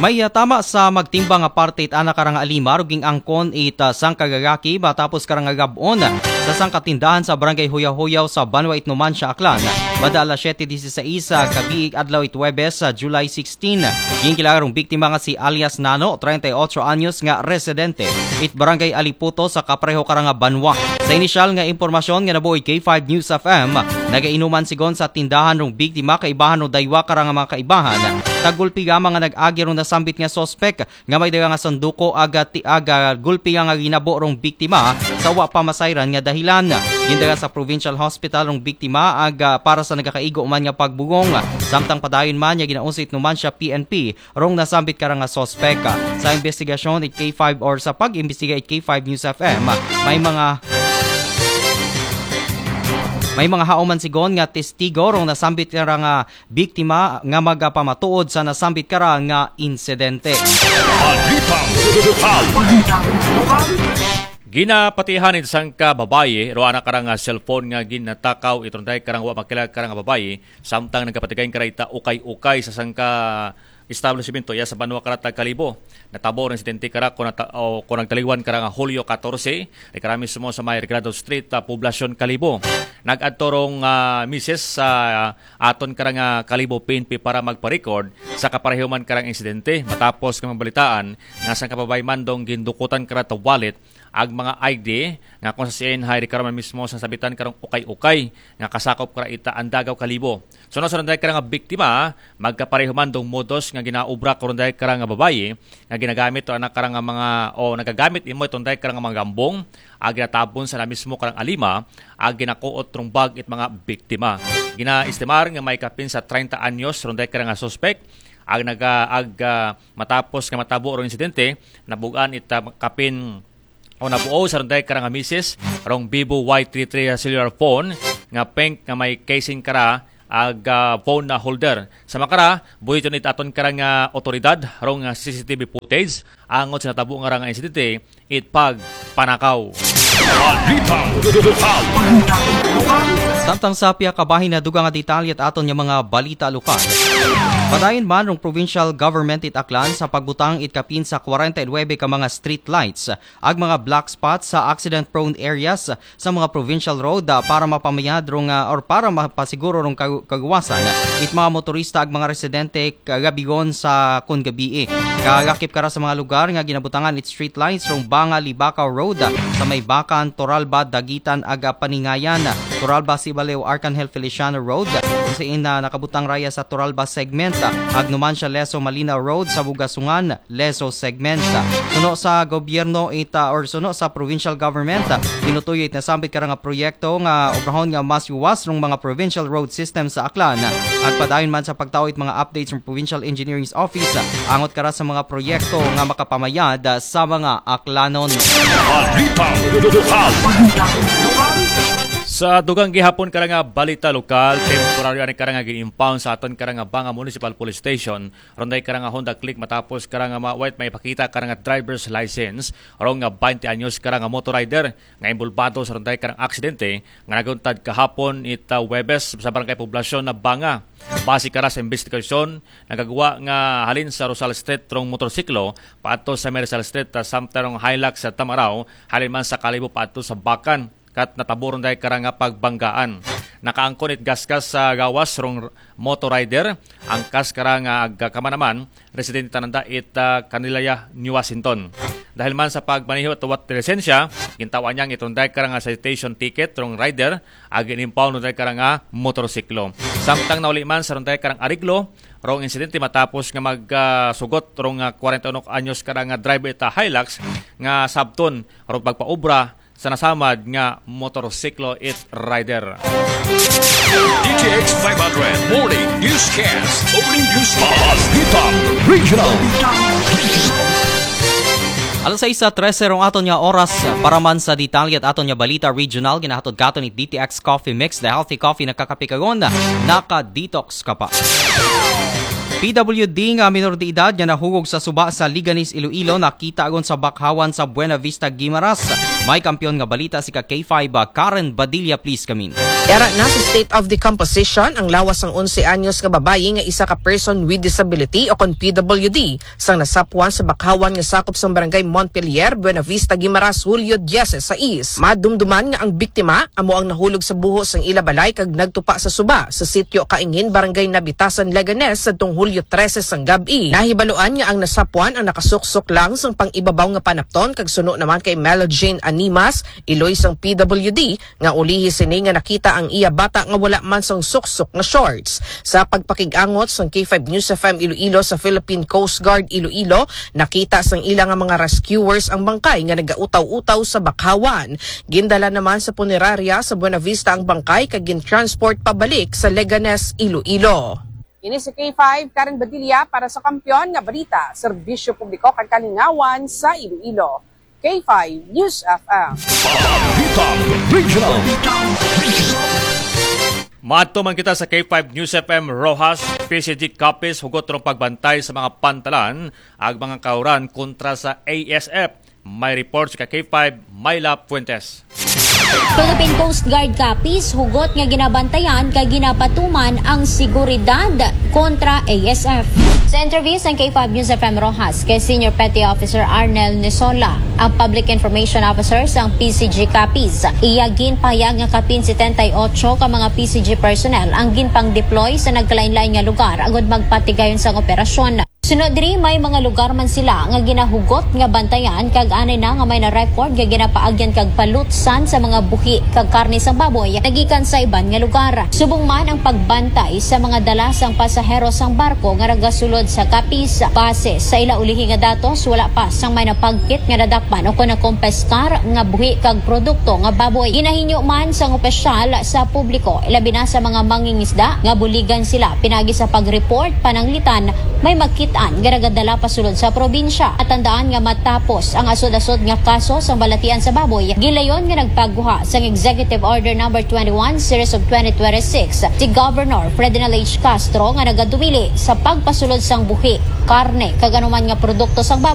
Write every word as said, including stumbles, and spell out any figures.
May, ah, tama sa magtimbang nga parte it ana karang alimar ug ging-angkon it, ah, sangka gagaki matapos karang gab-on sa sangka tindahan sa Barangay Huyaw-Huyaw sa Banwa it Numancia, Aklan. Banda alas siyete dieciséis sa gabii adlaw it Huwebes sa July sixteen. Ginkilaag rong biktima nga si alias Nano, treinta y ocho anyos nga residente it Barangay Aliputo sa kapareho karang banwa. Sa inisyal nga impormasyon nga nabuo it K five News F M, nagainuman sigon sa tindahan rong biktima kaibahan rong daywa karang mga kaibahan. Tagulpi gamang nga nag-agi rong nasambit nga suspek nga may daga nga sanduko aga ti aga gulpi nga, nga ginabo rong biktima sa wa pa masayran nga dahilan. Gindagan sa provincial hospital rong biktima aga para sa nagakaigo man nga pagbugong. Samtang padayon man nga ginausik naman siya P N P rong nasambit karang nga suspek. Sa investigasyon it K five or sa pag-imbestiga it K five News F M, may mga may mga hauman sigon nga testigo rong nasambit karang nga biktima nga magapamatuod sa nasambit kara nga insidente. Balitang lokal. Ginapatihan it sangka babayi, ro ana karang cellphone nga ginatakaw it ron dayag karang wa makilag karang babayi, samtang nagapatigayon kara ita ukay-ukay sa sangka establishmento iya sa banwa kara tag Kalibo. Natabo rong insidente kara kon nata-, o kon nagtaliwan karang Hulyo katorse, di kara mismo sa may Regalado Street, ah, Poblacion, Kalibo. Nag-adto rong, ah, misis sa aton karang, ah, Kalibo P N P para magpa-record sa kapareho man karang insidente. Matapos nga mabalitaan nga sangka babayi man dong gindukutan kara ta wallet ag mga I D nga kon sa C N hay di kara man mismo sa sabitan karong ukay-ukay nga kasakop kara ita Andagaw, Kalibo. Suno sa ron dayag karang biktima, magkapareho man dong modus nga ginaobra ko ron dayag karang babayi nga ginagamit to ana karang mga o nagagamit imo iton dayag karang mga gambong ag ginatabon sa na mismo karang alima ag ginakuot rong bag it mga biktima. Ginaestimar nga may kapin sa treinta anyos ron dayag karang suspek ag naga ag ah, matapos nga matabo rong insidente, nabugan it ah, kapin o nabuo sa ron dayag karang misis rong Vivo Y three three cellular phone nga pink nga may casing kara ag ah, phone na holder. Sa makara, buhiton it aton karang ah, otoridad rong ah, C C T V footage angot sa natabo nga rang insidente it pagpanakaw. Balitang lokal. Samtang sa pihak kabahin na dugang nga detalye at aton nga mga balita lokal. Padayon man rong provincial government it Aklan sa pagbutang it kapin sa kwarenta y nuebe ka mga street lights ag mga black spots sa accident-prone areas sa mga provincial road, ah, para mapamayad rong, ah, or para mapasiguro rong kag-, kagawasan it mga motorista ag mga residente kagabigon sa kon gabii. Kagakip kara sa mga lugar nga ginabutangan it street lights rong Banga Libacao Road, ah, sa may Bacan, Toralba, Daguitan ag Paningayan, Toralba, Sibalew, Arcangel Feliciano Road, sa ina nakabutang raya sa Toralba segment, ah, ag Numancia, Lezo, Malinaw Road sa Bugasungan, Lezo segment. Suno sa gobyerno ita or suno sa provincial government, tinutuyo it nasambit kara nga proyekto nga obrahon nga mas yuwas rong mga provincial road system sa Aklan. Ag padayon man sa pagtao it mga updates from Provincial Engineering Office, angot kara sa mga proyekto nga makapamayad sa mga Aklanon. Balitang lokal. Sa dugang gihapon kara nga balita lokal, temporaryo ani kara nga gin-impound sa aton kara nga Banga Municipal Police Station ron dayag kara nga Honda Click matapos kara nga ma-, wait, may pakita kara nga driver's license rong nga twenty anyos kara nga motor rider nga inbolbado sa ron dayag karang aksidente nga naguntad kahapon ita Huwebes sa Barangay Poblacion na Banga. Base kara sa investigasyon, nagagwa nga halin sa Rosal Street rong motorsiklo paadto sa Merizal Street, ah, samtang rong Hilux sa Tamaraw, halin man sa Kalibo paadto sa Bacan. Kat natabo ron dayag kara nga pagbanggaan. Nakaangkon it gasgas sa gawas rong motor rider, angkas kara nga agkamanaman, residente tananda it, ah, Kanilaya, New Washington. Dahil man sa pagmaneho at wat lisensya, gintawan niyang iton dayag kara nga citation ticket rong rider, ag inimpound dayag kara nga motorsiklo. Samtang nauli man sa ron dayag karang ariglo, rong insidente matapos nga magsugot rong, ah, kwarenta y uno anyos kara nga driver ita Hilux nga sabton rong pagpaubra sa nasamad nga motorsiklo it rider. D T X five hundred Morning Newscast. Morning Newscast. Balitang Regional. Alas sais sa trese rong aton nga oras para man sa detalye at aton nga balita regional, ginahatod katon ni D T X Coffee Mix, the healthy coffee na kakapikagon, naka-detox ka pa. P W D nga minor de edad nga nahugog sa suba sa Liganis, Iloilo, nakita agon sa bakhawan sa Buena Vista, Guimaras. May kampiyon nga balita si ka K five, ah, Karen Badilla, please, kamin. Yara na sa state of decomposition ang lawas sang onse anyos nga babayi nga isa ka person with disability o kon P W D sang nasapwan sa bakhawan nga sakop sang barangay Montpelier, Buenavista, Guimaras, Hulyo diyes sais. Madumduman nga ang biktima amo ang nahulog sa buho sang ila balay kag nagtupa sa suba sa sitio Kaingin, barangay Nabitasan, Leganes, sadtong Hulyo trese sang gab-i. Nahibaluan nga ang nasapwan ang nakasuksok lang sang pang-ibabaw nga panapton kag suno naman kay Melo Jane Animas, iloy sang P W D, nga ulihi sini nga nakita ang iya bata nga wala man sang suksok nga shorts. Sa pagpakig-angot sang K five News F M Iloilo sa Philippine Coast Guard Iloilo, nakita sang ila nga mga rescuers ang bangkay nga nagautaw-utaw sa bakhawan. Gindala naman sa punerarya sa Buenavista ang bangkay kag gin-transport pabalik sa Leganes, Iloilo. Ini si K five, Karen Badilla para sa Kampiyon nga Balita, Serbisyo Publiko kag Kalingawan sa Iloilo. K five News F M. Balitang Regional. Maadto man kita sa K five News F M Roxas. P C G Capiz hugot rong pagbantay sa mga pantalan ag mga kauran kontra sa A S F. May report si ka K five, Myla Fuentes. Philippine Coast Guard Capiz hugot nga ginabantayan kag ginapatuman ang seguridad kontra A S F. Sa interview sa K five News F M Roxas kay Senior Petty Officer Arnel Nisola, ang Public Information Officer sang P C G Capiz, iya ginpahayag nga kapin setenta y ocho ka mga P C G personnel ang ginpang-deploy sa nagkalain-lain nga lugar agud magpatigayon sang operasyon. Sunod diri, may mga lugar man sila nga ginahugot nga bantayan kag anay na nga may na-record nga ginapaagyan kag palutsan sa mga buhi kag karne sang baboy nagikan sa iban nga lugar. Subong man ang pagbantay sa mga dala sang pasahero sang barko nga nagasulod sa Capiz, base sa ila ulihi nga datos, wala pa sang may napagkit nga nadakpan o kon nakompeskar nga buhi kag produkto nga baboy. Ginahinyo man sang opisyal sa publiko, ilabi na sa mga mangingisda nga buligan sila pinagi sa pag-report pananglitan may makit-an nga nagadala pasulod sa probinsya. At tandaan nga matapos ang asod-asod nga kaso sang balatian sa baboy, gilayon nga nagpaguha sang Executive Order Number twenty-one Series of twenty twenty-six si Governor Ferdinand H. Castro nga nagadumili sa pagpasulod sang buhi, karne, kag anuman nga produkto sang baboy